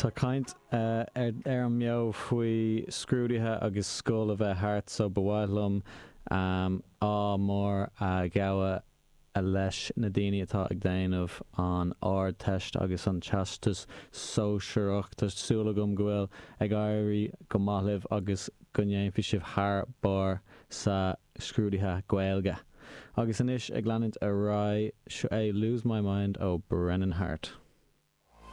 Tá caint ar an mbeo faoi scrúduithe agus scoil a bheith thart so ba mhaith liom ádh mór a ghabháil leis na daoine atá ag déanamh an Ardteist agus an Teastas Sóisearach. Tá súil agam go bhfuil ag éirí go maith libh agus go ndéanfaidh sibh thar barr sa scrúduithe Gaeilge. Agus anois ag leanúint ar aghaidh, seo é Lose My Mind ó Brennan Heart.